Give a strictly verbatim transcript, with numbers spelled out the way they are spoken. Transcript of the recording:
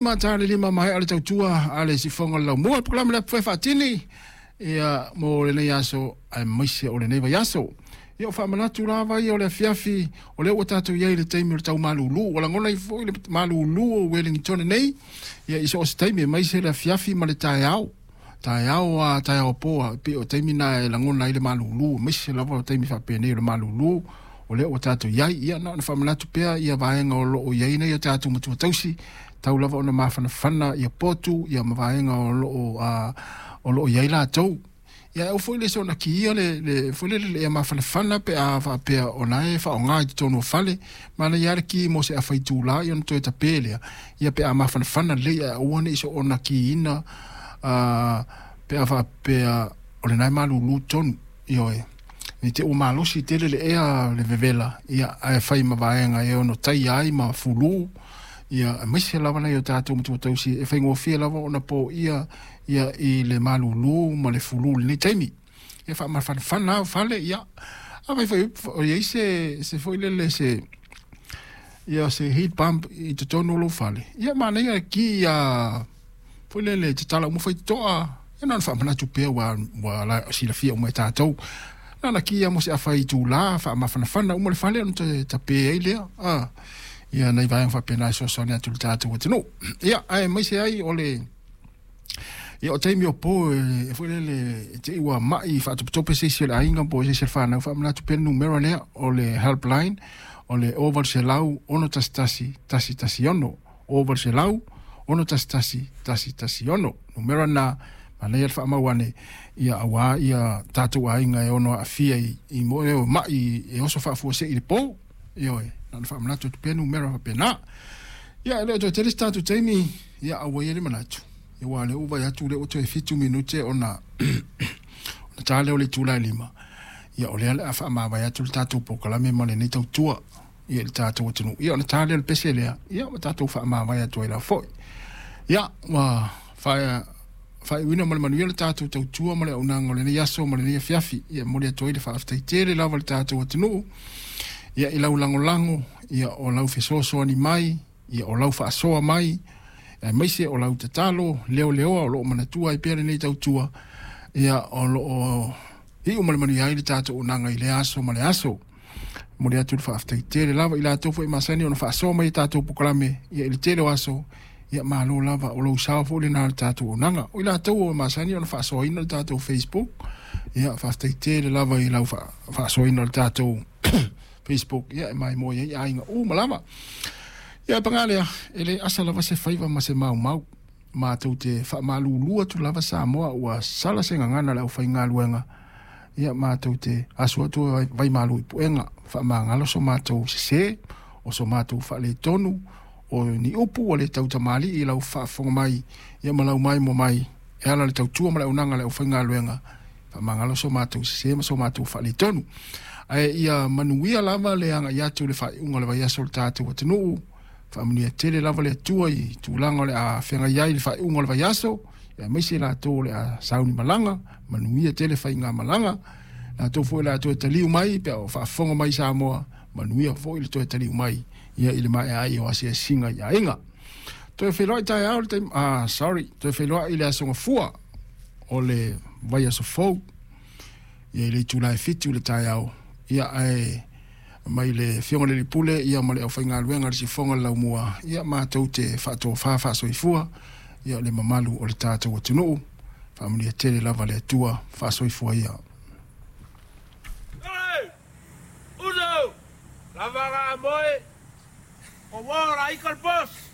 Ma tā le lima maea o le tautua a le sifoga o le laumua, le polokalame lea e faatini ia mo lenei aso aemaise o lenei vaiaso. Ia o faamanatu lava ia o le afiafi, o lea ua tatou i ai i le taimi o le tau malulu. Ua lagona ai foi le malulu o Wellington nei, ia i so o se taimi, aemaise le afiafi ma le taeao. Taeao a taeao po a, pei o taimi na e lagona ai le malulu, aemaise lava o taimi faapenei o le malulu o lea ua tatou i ai. Ia na ona faamanatu pea ia vaega o loo i ai nei o tatou matua tausi, tau lava ona mafanafana ia potu ia ma vaega o loo uh, o loo i ai latou. Ia au foi le soona kiia le le foi le le ia mafanafana pe a faapea o na e faaaoga i totonu o fale, manaia le ki mo se afa itula ia ona toe tape lea. Ia pe a mafanafana lelei ae aua nei soona kiina uh, pe a faapea o lena e malulu tonu. Ioe, nei te ua malosi tele le ea le vevela, ia ae fai ma vaega e ono taia ai ma fulu. Ia aemaise lava nai o tatou matua tausi e faigofie lava ona poia ia i le malulu ma le fulu i lenei taimi. Ia faamafanafana fale, ia afai foi o i ai se se foi lele se ia se heat pump i totonu o lou fale, ia manaia le ki ia foi lele tatala uma faitotoa. Ia na ona faamanatu pea ua ua la silafia uma e tatou. Na ona ki ia mo se afa itula faamafanafana uma le fale ona toe tape ai lea. Ah, ia nai vaega faapena e fesoasoani atu i le tatou atunuu. Ia aemaise ai o le ia o taimi o po e foi lele e te i ua mai faatopetope se isi o le aiga po o se isi o le fanau, faamanatu pea le numera lea o le helpline o le zero eight zero six one one one six zero six one one one six. Numera na manaia le faamau ane ia aua ia tatou aiga e ono aafia i, i mo e mai e oso faafuasei i le po. Ioe, na ona faamanatu atu pea numera faapena. Ia e le o toe tele se tatou taimi, ia aua ia le manatu. Ia ua lea ua vaai atu lea ua toe fitu minute ona ona ta lea o le itula e lima. Ia o lea o le a faamavae atu le tatou polokalame ma lenei tautua ia i le tatou atunuu. Ia ona ta lea o le pese lea, ia ua tatou faamavae atu ai la foi. Ia ua faia faaiuina ma le manuia le tatou tautua ma le auaunaga o lenei aso ma lenei afiafi. Ia momoli atu ai le faafetai tele lava i le tatou atunuu. Ia i lau lagolago, ia o lau fesoasoani mai, ia o lau faasoa mai, aemaise o lau tatalo leoleoa o loo manatua ai pea lenei tautua. Ia o loo iu ma le manuia ai le tatou auaunaga i lea aso ma le aso. Momoli atu le faafetai tele lava i latou foi masani ona faasoa mai i tatou polokalame ia i le tele o aso. Ia malo lava o lou sao foi lena o le tatou auaunaga. O i latou o masani ona faasoaina le tatou Facebook, ia faafetai tele lava i lau faasoaina o le tatou Facebook, ia e maimoa ai aiga uma lava. Ia paga lea, e le asa lava se faiva ma se maumau. Matou te faamalulu atu lava Samoa ua sala se gagana le aufaigaluega. Ia matou te asu atu vaimalu i puega, faamagalo so matou sese, o so matou faaletonu, o ni upu ua le tautamalii i lau faafofoga mai, ia ma lau maimoa mai, e ala i le tautua ma le auaunaga a le aufaigaluega, faamagalo so matou sese ma so matou faaletonu. Ae ia manuia lava le agai atu i le faaiuga o le vaiaso o le tatou atunuu. Faamanuia tele lava le Atua i tulaga o le a feagai ai i le faaiuga o le vaiaso, aemaise latou o le a sauni malaga, manuia tele faiga malaga. Latou foi o le a toe taliu mai pe a o faafofoga mai Samoa, manuia foi le toe taliu mai ia i le maea ai o asiasiga i aiga. Toe feiloai taeao le taimi, ah, sorry, toe feiloai i le aso Gafua o le vaiaso fou, ia i le itula e fitu le taeao. Ia ae mai le afioga i le alii pule ia ma le aufaigaluega a le sifoga o le laumua, ia matou te faatofa faasoifua ia le mamalu o le tatou atunuu. Faamanuia tele lava le Atua, faasoifua ia. Hey! Uso! Lava ga moe! O wora ikal boss!